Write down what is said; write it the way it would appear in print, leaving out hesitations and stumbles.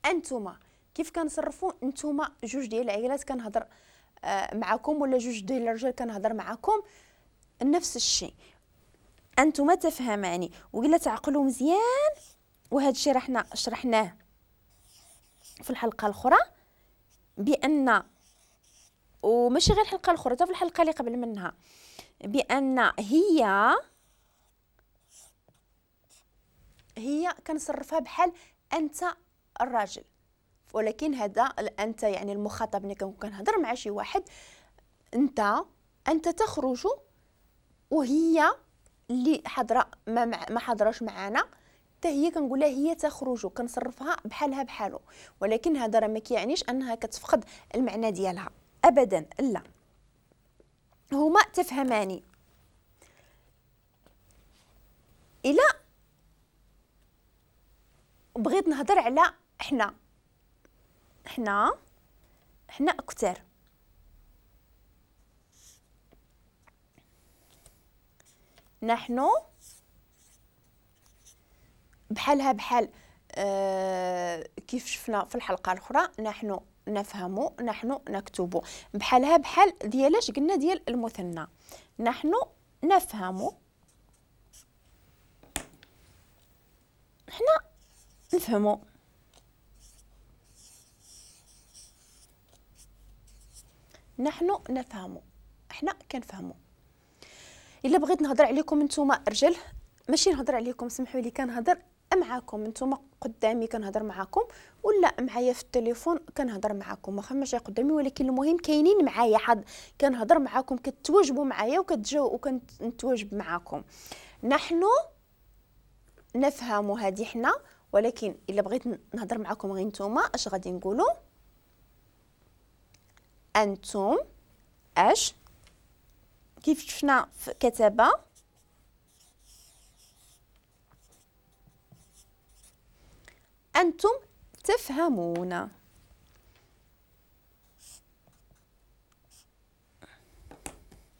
انتما. كيف كنصرفوا انتما جوج ديال العائلات كنهضر معكم ولا جوج ديال الرجال كنهضر معكم، نفس الشيء، انتما تفهماني. وإلا تعقلوا مزيان، وهذا الشيء راه حنا شرحناه في الحلقة الاخرى، بان وماشي غير الحلقة الاخرى، حتى في الحلقة اللي قبل منها، بان هي كنصرفها بحال انت الراجل، ولكن هذا الانت يعني المخاطب ملي كنكون كنهضر مع شي واحد، انت تخرج، وهي اللي حاضره ما حاضراش معانا حتى هي كنقول لها هي تخرج، كنصرفها بحالها بحالو، ولكن هذا راه ما كيعنيش انها كتفقد المعنى ديالها ابدا، لا، هما تفهماني. الا بغيت نهضر على حنا، حنا كثار، نحن بحالها بحال كيف شفنا في الحلقة الأخرى، نحن نفهم، نحن نكتب، بحالها بحال ديالاش قلنا ديال المثنى، نحن نفهم، حنا نفهمو. نحن نفهم، حنا كنفهمو. الا بغيت نهضر عليكم نتوما رجال، ماشي نهضر عليكم، سمحوا لي، كنهضر معاكم نتوما قدامي كنهضر معاكم، ولا معايا في التليفون كنهضر معاكم، واخا ماشي قدامي، ولكن المهم كاينين معايا، حد كنهضر معاكم، كتواجبوا معايا وكنتواجب معاكم. نحن نفهم هذه حنا، ولكن الا بغيت نهضر معاكم غير نتوما اش غادي نقولوا؟ انتم اش كيف شفنا في كتابه، انتم تفهمون.